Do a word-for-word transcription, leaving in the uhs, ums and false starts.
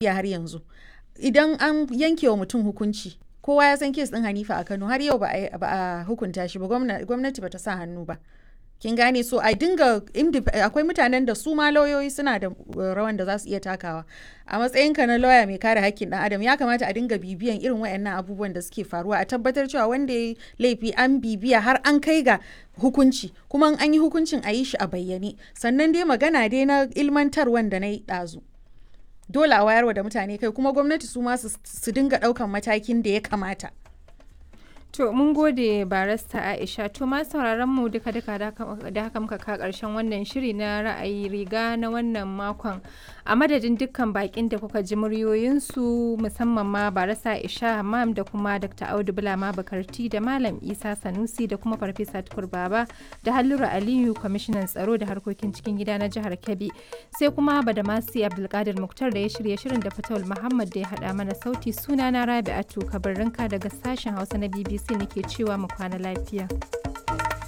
Har yanzu idan an yanke wa mutum hukunci, kowa ya san case ɗin Hanifa a Kano, har yau ba a hukunta shi ba, gwamnati ba ta sa hannu ba. Kin gane? So a dinga, akwai mutanen da su ma lauyoyi suna da rawan da za su iya takawa. A matsayinka na lauya mai kare hakkin ɗan adam, ya kamata a dinga bibiyan irin waɗannan abubuwan da suke faruwa, a tabbatar cewa wanda ya yi laifi an bibiya har an kai ga hukunci, kuma in an yi hukuncin a yi shi a bayyane. Sannan dai magana dai na ilmantarwan da na yi ɗazu, dole a wayarwa da mutane kai, kuma gwamnati su ma su dinga ɗaukan matakin da ya kamata. To, mun gode, Barista Aisha. To, ma sauraron mu, duka duka da haka muka ka karshen wannan shiri na Ra'ayi Riga na wannan makon. A madadin dukkan bakin da kuka ji muryoyinsu, musamman ma Barista Aisha Hammam da kuma Doctor Audu Bulama Bakarti da Malam Isa Sanusi da kuma Farfesa Tukur Baba da Halluru Aliyu, kwamishinan tsaro da harkokin cikin gida na jihar Kebbi. Sai kuma Badamasi Abdulkadir Muktar da ya shirya shirin da Fatawul Muhammad da ya haɗa mana sauti, sunana Rabi'atu Kabirrinka daga sashen Hausa na B B C nake cewa mu kwana lafiya.